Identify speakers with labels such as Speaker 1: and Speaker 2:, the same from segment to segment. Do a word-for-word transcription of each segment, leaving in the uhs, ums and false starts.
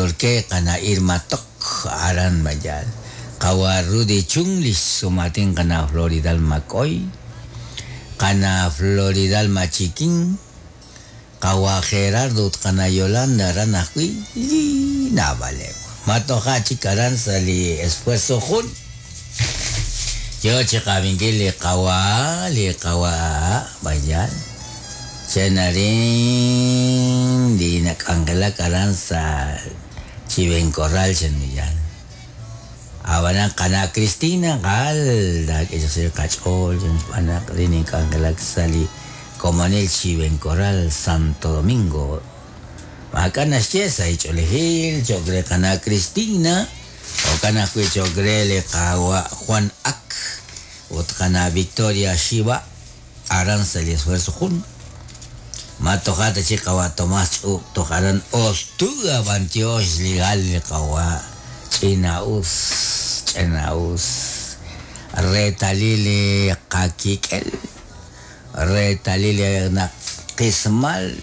Speaker 1: Torque qana Irma Tok aran mayal qawa Rudy Chung li sumatin qana Floridal Macoy qana Floridal Machiquín qawa Gerardo qana Yolanda aran ajwi naab'aleb matoja chik aran sa' li esfuerzo jun yo chiqabinkil li qawa li qawa mayal chenarin li nak'anjelak aran sa' Chivencorral chenmillal abanan qana Cristina qal dak'ixil qach'ool chenxb'anaq li nink'anjelak sa' li komonil Chivencorral Santo Domingo maka naxye sa' ich'olejil chokre qana Cristina okan ajwi' chokre li qawa Juan Ak ut qana Victoria Shiva aran sa' li esfuerzo jun matojata chi qawa Tomás ch'ub toj aran ostuga bantiox ligal li qawa ch'ina'us ch'ina'us retalil qakik'el retalil naqismal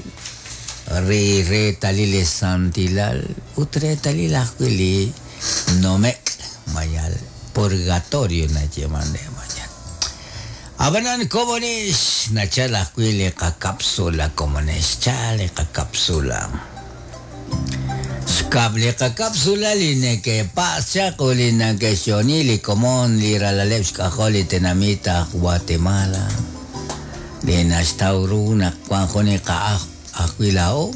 Speaker 1: ri retalil santilal ut retalil ajwi' li nomek mayal purgatorio nayeman de mayal abanan komonix nachal ajwi' li qakapsula komonix chal li qakapsula xkab' li qakapsula li neke'pas chaq u li nakexyoni li komon li ralaleb' xk'ajol li tenamit aj Guatemala li naxtaw ru naq wan jun li qa'aj ajwi' la'o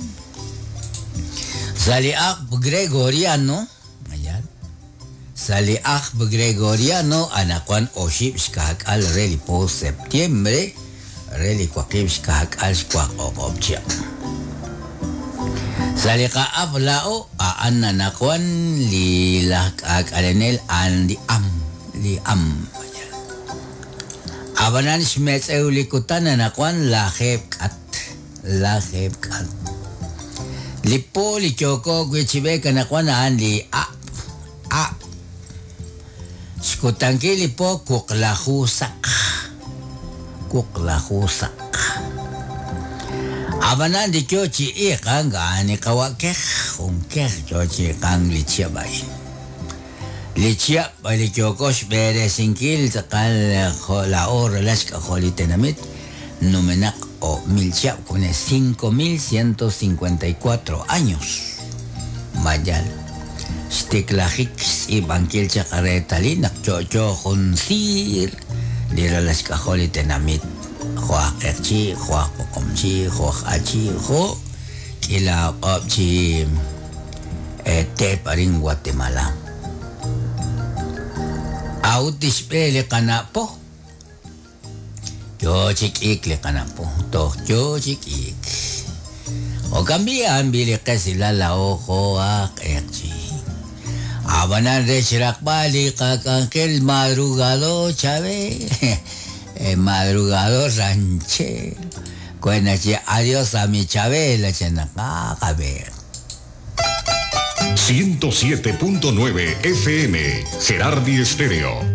Speaker 1: sa' li ajb' gregoriano mayal sa' li ajb' gregoriano anaqwan oxib' xka'k'al re li po septiembre re li waqib' xka'k'al xwaq o'q'ob' chihab' sa' li qa'ab' la'o a'an anaqwan li laj k'ak'alenel a'an li am li am mayal abanan xmetz'ew li kutan anaqwan lajeeb' k'at lajeeb' k'at li po li yoko wi' chib'ek anaqwan a'an li ab' ab' xkutankil li po kuqlaju saq kuqlaju saq abanan li yo chi iqan a'an li qawa kej jun kej yo chi iqan li chihab' a'in li chihab' li yoko xb'eresinkil tz'aqal jo' la'o ralal xk'ajol li tenamit numenaq o mil chihab' con cinco mil ciento cincuenta y cuatro años mayal xtiklajik xtz'iib'ankil chaq reetalil naq yo'yo jun siir li ralal xk'ajol li tenamit jo' aj q'eqchi jo' aj poqomchi jo' aj achi jo' k'ila q'ob' chi teep arin Guatemala awt tixb'e li qana'po yo chik'ik li qana'po toj yo chik'ik jo'kan b'i li qesilal la'o jo' aj q'eqchi abanan re xraqb'al li qak'anjel madrugado Chávez madrugador ranchero cuena chi adiós a mi Chabela chenaqaqa a ver
Speaker 2: ciento siete punto nueve F M Gerardi Estéreo.